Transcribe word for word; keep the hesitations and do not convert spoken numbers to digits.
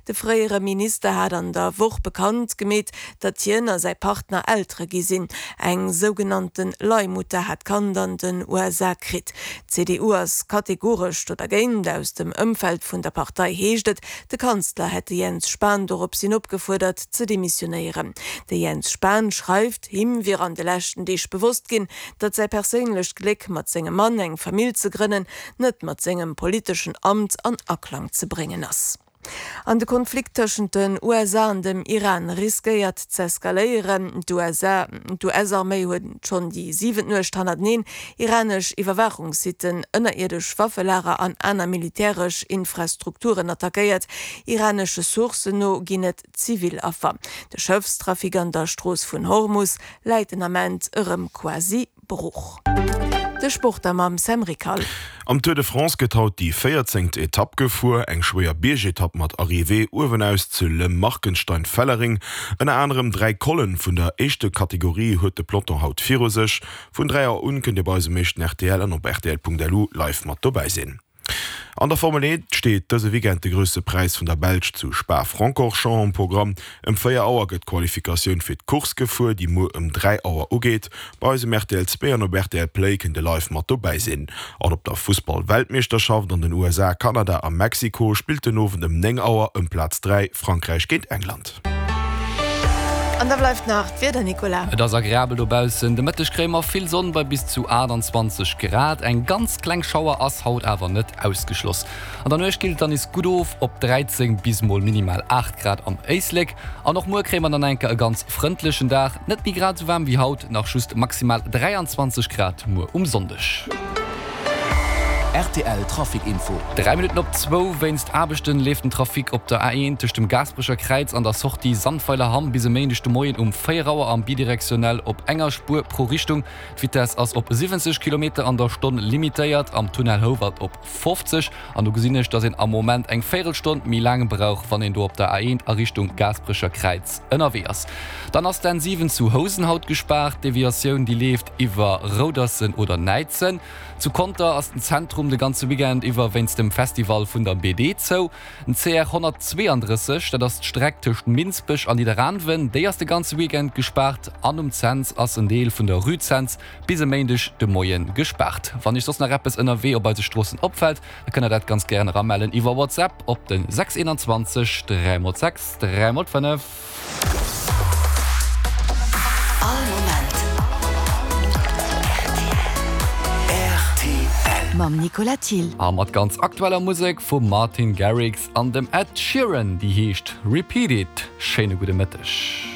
De fréiere Minister hat an der Woch bekannt gemeet, datt hien a säi Partner Eltere gi sinn. Eng sougenannte Leihmutter hat d'Kand an den U S A kritt. D C D U ass kategoresch do dergéint. Aus dem Ëmfeld vun der Partei heescht et, de Kanzler hätt de Jens Spahn dorops hin opgefuerdert ze demissionéieren. De Jens Spahn schreift, him wier an de leschten Deeg bewosst ginn, datt säi perséinlecht Gléck mat sengem Mann eng Famill ze grënnen, net mat sengem politeschen Amt an Aklang ze bréngen ass. An de Konflikt tëschent den U S A an dem Iran riskéiert z'eskaléieren. D U S A, D U S-Arméi huet schonn déi siwent Nuecht hannerteneen iranesch Iwwerwaachungssitten, ënnerierdesch Waffelager an aner militäresch Infrastrukturen attackéiert. Iranesche Sourcen no ginn et Zivilaffer. De Schëffstrafic an der Strooss vun Hormus läit den Ament erëm quasi brooch. De Sport am Sam Rickal. Am Tour de France gëtt haut déi véierzéngt Etapp gefuer, eng schwéier Biergetapp mat Arrivée uewen aus zu Le Markenstein-Fellering. Ënner anerem dräi Collen vun der éischter Kategorie huet de Peloton haut viru sech. Vun dräi Auer un kënnt Dir bei eisem éischten R T L an op R T L Punkt L U live mat dobäi sinn. An der Formel eent steet dëse Weekend de grousse Präis vun der Belsch zu Spa-Francorchamps am Programm. Ëm véier Auer gëtt d'Qualifikatioun fir d'Course gefuer, déi muer ëm dräi Auer ugeet. Bei eisem R T L zwee an op R T L Play kënnt Dir live mat dobäi sinn. An op der Fussball-Weltmeeschterschaft an den U S A, Kanada a Mexiko spillt den Owend ëm néng Auer ëm Plaz dräi Frankräich géint England. An da bleift nach d'Wieder, Nicolas. Et ass agreabel dobaussen. De Mëtteg kréie mer vill Sonn bei bis zu achtundzwanzeg Grad. Eng ganz kleng Schauer ass haut awer net ausgeschloss. An der Nuecht killt dann is gutt of op dräizéng bis mol minimal aacht Grad am Éislek. An och muer kréie mer dann enker e ganz frëndlechen Dag. Net méi grad sou waarm wéi haut, nach just maximal dräianzwanzeg Grad muer um Sonndeg. R T L Trafic Info. Dräi Minutten op zwou. Wéinst Aarbechten leeft den Trafic op der A eent tëscht dem Gaasperecher Kräiz an der Sortie Sandweiler-Hamm bis e Méindeg de Moien um véier Auer am bidirektionell op enger Spuer pro Richtung. D'Vitesse ass op siwwenzeg Kilometer an der Stonn limitéiert, am Tunnel Houwald op fofzeg. An do gesinn ech, datt een am Moment eng Véierelstonn méi laang brauch, wann een do op der A eent a Richtung Gaasperecher Kräiz ënnerwee ass. Dann ass d'N siwen zu Housen haut gespaart. D'Deviatioun, déi leeft iwwer Roudersen oder Näizen. Zu Conter ass den Zentrum de ganze Weekend iwwer wéinst dem Festival vun der B D zou. Den C R honnertzweeanddrësseg, dat ass d'Streck tëscht Minsbech an Nidderaanwen, déi ass de ganze Weekend gespaart. An um Cents ass en Deel vun der Rue Cents bis e Méindeg de Moien gespaart. Wann iech soss nach eppes ënnerwee op eise Stroossen opfält, da kënnt der dat ganz gären eramellen iwwer WhatsApp op den sechs eenundzwanzeg dräi mol sechs dräi mol fënnef. All Moment. Mam Nicolas Thiel. A mat ganz aktueller Musek vum Martin Garrix an dem Ed Sheeran, déi heescht Repeat It. Schéine gudde Mëtteg.